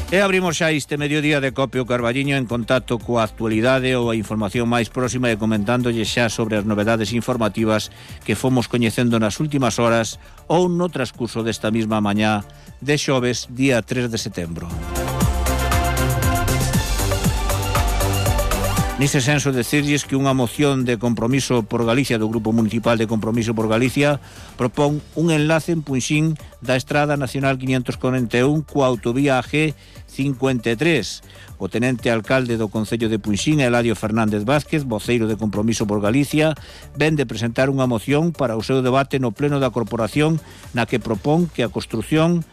E abrimos xa este mediodía de Copio Carballiño en contacto coa actualidade ou a información máis próxima e comentándolle xa sobre as novedades informativas que fomos coñecendo nas últimas horas ou no transcurso desta mesma mañá de xoves, día 3 de setembro. Nese senso, decirlles que unha moción de Compromiso por Galicia do Grupo Municipal de Compromiso por Galicia propón un enlace en Punxín da Estrada Nacional 541 coa autovía AG53. O tenente alcalde do Concello de Punxín, Eladio Fernández Vázquez, voceiro de Compromiso por Galicia, ven de presentar unha moción para o seu debate no pleno da corporación na que propón a construción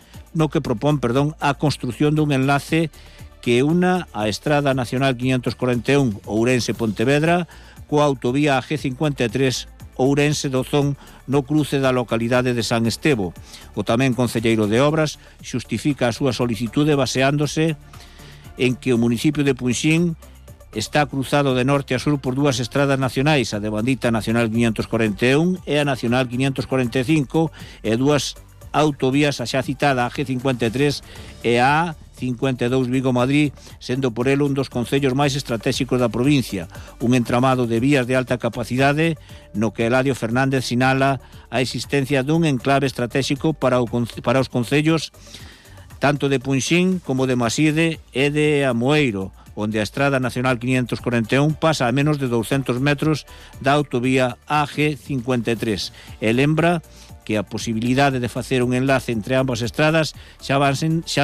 dun enlace que una a Estrada Nacional 541 Ourense-Pontevedra coa autovía AG53 Ourense-Dozón no cruce da localidade de San Estevo. O tamén concelleiro de Obras xustifica a súa solicitude baseándose en que o municipio de Punxín está cruzado de norte a sur por dúas estradas nacionais, a devandita Nacional 541 e a Nacional 545, e dúas autovías, a xa citada AG53 e a A52 Vigo-Madrid, sendo por el un dos concellos máis estratégicos da provincia, un entramado de vías de alta capacidade no que Eladio Fernández sinala a existencia dun enclave estratégico para os concellos tanto de Punxín como de Maside e de Amoeiro, onde a Estrada Nacional 541 pasa a menos de 200 metros da autovía AG53. E lembra que a posibilidade de facer un enlace entre ambas estradas xa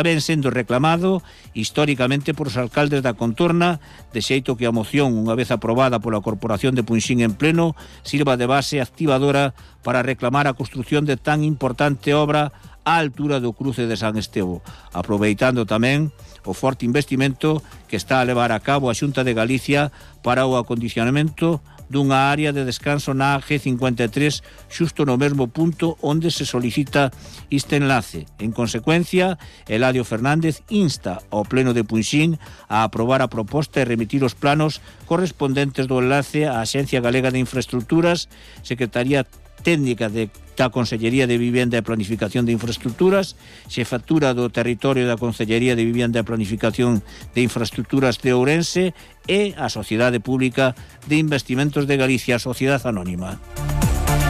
ven sendo reclamado históricamente por os alcaldes da contorna, de xeito que a moción, unha vez aprobada pola Corporación de Punxín en pleno, sirva de base activadora para reclamar a construción de tan importante obra á altura do cruce de San Estevo, aproveitando tamén o forte investimento que está a levar a cabo a Xunta de Galicia para o acondicionamento dunha área de descanso na AG53 xusto no mesmo punto onde se solicita este enlace. En consecuencia, Eladio Fernández insta ao Pleno de Punxín a aprobar a proposta e remitir os planos correspondentes do enlace á Axencia Galega de Infraestructuras, Secretaría Técnica da Consellería de Vivienda e Planificación de Infraestructuras, Xefatura do Territorio da Consellería de Vivienda e Planificación de Infraestructuras de Ourense e a Sociedade Pública de Investimentos de Galicia, Sociedade Anónima.